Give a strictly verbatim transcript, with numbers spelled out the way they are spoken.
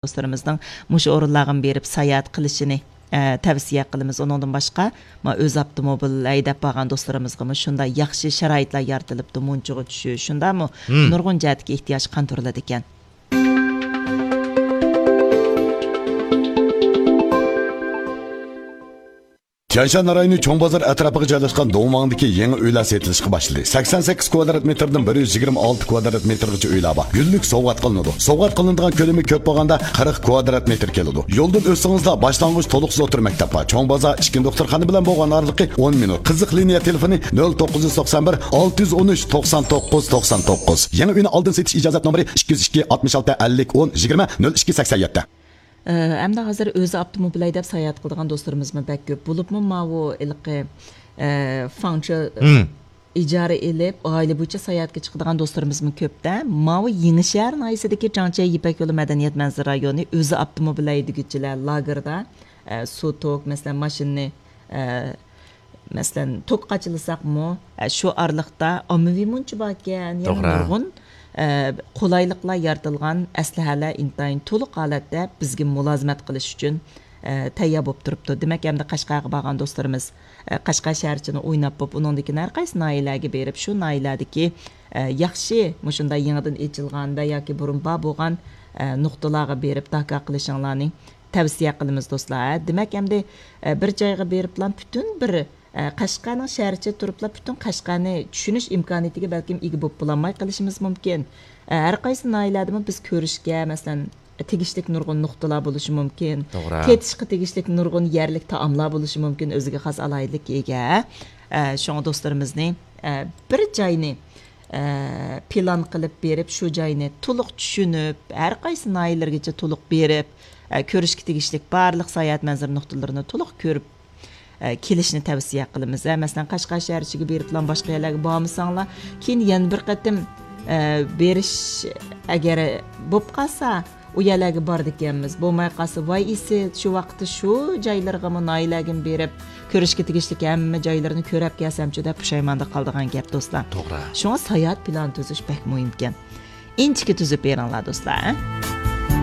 دوستلىرىمىزنىڭ مۇشۇ ئورۇنلارغا بېرىپ ساياھەت قىلىشىنى، ئە، تەۋسىيە قىلىمىز. ئۇنىڭدىن باشقا، ما، ئۆز ئاپتوموبىل ھەيدەپ بارغان دوستلىرىمىزغىمۇ شۇنداق ياخشى شارائىتلار يارىتىلىپتۇ. مۇنچىغا چۈشۈش، شۇنداقمۇ؟ مم. نۇرغۇن جەھەتتىكى ئېھتىياج قاندۇرۇلىدىكەن. تيەنشان رايونى چوڭ بازار ئەتراپىغا جايلاشقان دۇڭۋاڭدىكى يېڭى ئۆيلەر سېتىلىشقا باشلىدى. سەكسەن سەككىز كۋادرات مېتىردىن بىر يۈز يىگىرمە ئالتە كۋادرات مېتىرغىچە ئۆيلەر بار. گۈللۈك سوۋغات قىلىنىدۇ. سوۋغات قىلىنىدىغان كۆلىمى كۆپ بولغاندا قىرىق كۋادرات مېتىر كېلىدۇ. يولدىن ئۆتسىڭىزلا باشلانغۇچ تولۇقسىز ئوتتۇرا مەكتەپ بار. چوڭ بازار ئىچكى دوختۇرخانا بىلەن بولغان ئارىلىقى ئون مىنۇت. قىزىق لىنىيە تېلېفونى نۆل توققۇز يۈز توقسان بىر، ئالتە يۈز ئون ئۈچ، توقسان توققۇز، توقسان توققۇز. يېڭى ئۆينى ئالدىن سېتىش ئىجازەت نومۇرى ئىككى يۈز ئىككى، ئاتمىش ئالتە، ئەللىك، ئون، يىگىرمە، نۆل ئىككى، سەكسەن يەتتە. ئە، ئەمدى ھازىر ئۆزى ئاپتوموبىل ھەيدەپ ساياھەت قىلىدىغان دوستلىرىمىزمۇ بەك كۆپ. بولۇپمۇ ماۋۇ ھېلىقى، ئە، فاڭچې مم. ئىجارە ئېلىپ، ئائىلە بويىچە ساياھەتكە چىقىدىغان دوستلىرىمىزمۇ كۆپتە. ماۋۇ يېڭىشەھەر ناھىيەسىدىكى جاڭچيەي يىپەك يولى مەدەنىيەت مەنزىرە رايونى ئۆزى ئاپتوموبىل ھەيدىگۈچىلەر لاگېرىدا، ئە، سۇ توك، مەسىلەن، ماشىنىنى، ئە، مەسىلەن، توك قاچىلىساقمۇ، ئە، شۇ ئارىلىقتا ئاممىۋى مۇنچە باركەن، يەنە توغرا. نۇرغۇن، ئە، قولايلىقلار يارىتىلغان، ئەسلىھەلەر ئىنتايىن تولۇق ھالەتتە بىزگە مۇلازىمەت قىلىش ئۈچۈن، ئە، تەييار بولۇپ تۇرۇپتۇ. دېمەك، ئەمدى قەشقەرگە بارغان دوستلىرىمىز، ئە، قەشقەر شەھەرچىنى ئويناپ بوپ، ئۇنىڭدىن كېيىن ھەر قايسى ناھىيەلەرگە بېرىپ، شۇ ناھىيەلەردىكى، ئە، ياخشى، مۇشۇنداق يېڭىدىن ئېچىلغان ۋە ياكى بۇرۇن بار بولغان، ئە، نۇقتىلارغا بېرىپ داكا قىلىشىڭلارنى تەۋسىيە قىلىمىز، دوستلار. دېمەك، ئەمدى، ئە، بىر جايغا بېرىپلا پۈتۈن بىر، ئە، قەشقەرنىڭ شەھەرچە تۇرۇپلا پۈتۈن قەشقەرنى چۈشىنىش ئىمكانىيىتىگە بەلكىم ئىگە بولۇپ بولالماي قېلىشىمىز مۇمكىن. ئە، ھەر قايسى ناھىيەلەردىمۇ بىز كۆرۈشكە، مەسىلەن، تېگىشلىك نۇرغۇن نۇقتىلار بولۇشى مۇمكىن. توغرا. تېتىشقا تېگىشلىك نۇرغۇن يەرلىك تائاملار بولۇشى مۇمكىن، ئۆزىگە خاس ئالاھىدىلىككە ئىگە. ئە، شۇڭا دوستلىرىمىزنى، ئە، بىر جاينى، ئە، پىلان قىلىپ بېرىپ، شۇ جاينى تولۇق چۈشىنىپ، ھەر قايسى ناھىيەلەرگىچە تولۇق بېرىپ، ئە، كۆرۈشكە تېگىشلىك بارلىق ساياھەت مەنزىرە نۇقتىلىرىنى تولۇق كۆرۈپ، ئە، كېلىشنى تەۋسىيە قىلىمىز. ئە، مەسىلەن، قەشقەر شەھەر ئىچىگە بېرىپلا باشقا يەرلەرگە بارمىساڭلار، كېيىن يەنە بىر قېتىم، ئە، بېرىش ئەگەر بولۇپ قالسا، ئۇ يەرلەرگە بارىدىكەنمىز. بولماي قالسا، ۋاي ئىسى، شۇ ۋاقىتتا شۇ جايلىرىغىمۇ، ناھىيەلەرگىمۇ بېرىپ، كۆرۈشكە تېگىشلىك ھەممە جايلىرىنى كۆرۈپ كەلسەمچۇ دەپ پۇشايماندا قالىدىغان گەپ، دوستلار. توغرا. شۇڭا ساياھەت پىلانى تۈزۈش بەك مۇھىمكەن. ئىنچىكە تۈزۈپ بېرىڭلار، دوستلار.